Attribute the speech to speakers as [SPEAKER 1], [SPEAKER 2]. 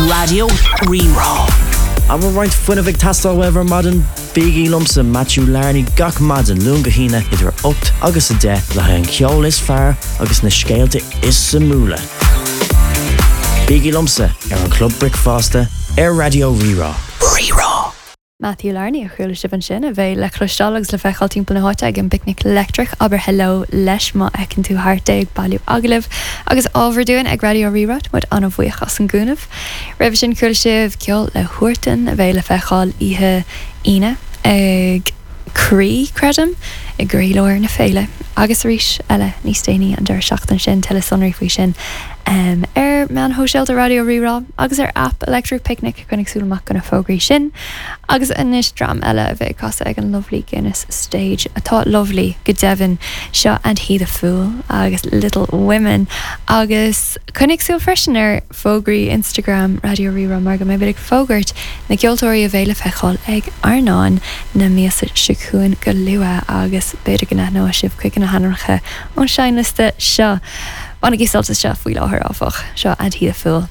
[SPEAKER 1] Raidió Rí-Rá.
[SPEAKER 2] An bhfuil roinnt fuinnimh ag teastáil uaibh ar maidin? Bígí liomsa, Matthew Larney, gach maidin, Luan go hAoine, idir 8 agus 10, le haghaidh an ceol is fearr agus na scéalta is suimiúla. Bígí liomsa ar an Chlub Bricfeasta ar Raidió Rí-Rá.
[SPEAKER 1] Rí-Rá.
[SPEAKER 3] Matthew Larney a chuala sibh ansin, a bheidh le cloisteáil agus le feiceáil timpeall na háite ag an bPicnic Leictreach. Abair heileo leis má fheiceann tú thart é ag bailiú agallaimh agus ábhar dúinn ag Raidió Rí-Rá. Tá muid an-bhuíoch as an gcúnamh. Roimhe sin chuala sibh ceol le Huartan a bheidh le feiceáil oíche Aoine ag Croí, creidim, i gcroílár na féile agus arís eile níos déanaí an deireadh seachtaine sin. Tuilleadh sonraí faoi sin ar meáin shóisialta Raidió Rí-Rá agus ar aip Electric Picnic. Coinnigh súil amach do na fógraí sin. Agus anois dream eile a bheidh ag casadh ag an Lovely Guinness Stage, atá lovely go deimhin, seo And He The Fool agus Little Women. Agus coinnigh súil freisin ar fógraí Instagram Raidió Rí-Rá mar go mbeimid ag fógairt na gceoltóirí a bheidh le feiceáil ag Airneán na míosa seo chugainn go luath agus b'fhéidir go n-aithneoidh sibh cuid de na hainmneacha ón seinnliosta seo. Bainigí sult as seo faoi láthair áfach. Seo And He The Fool.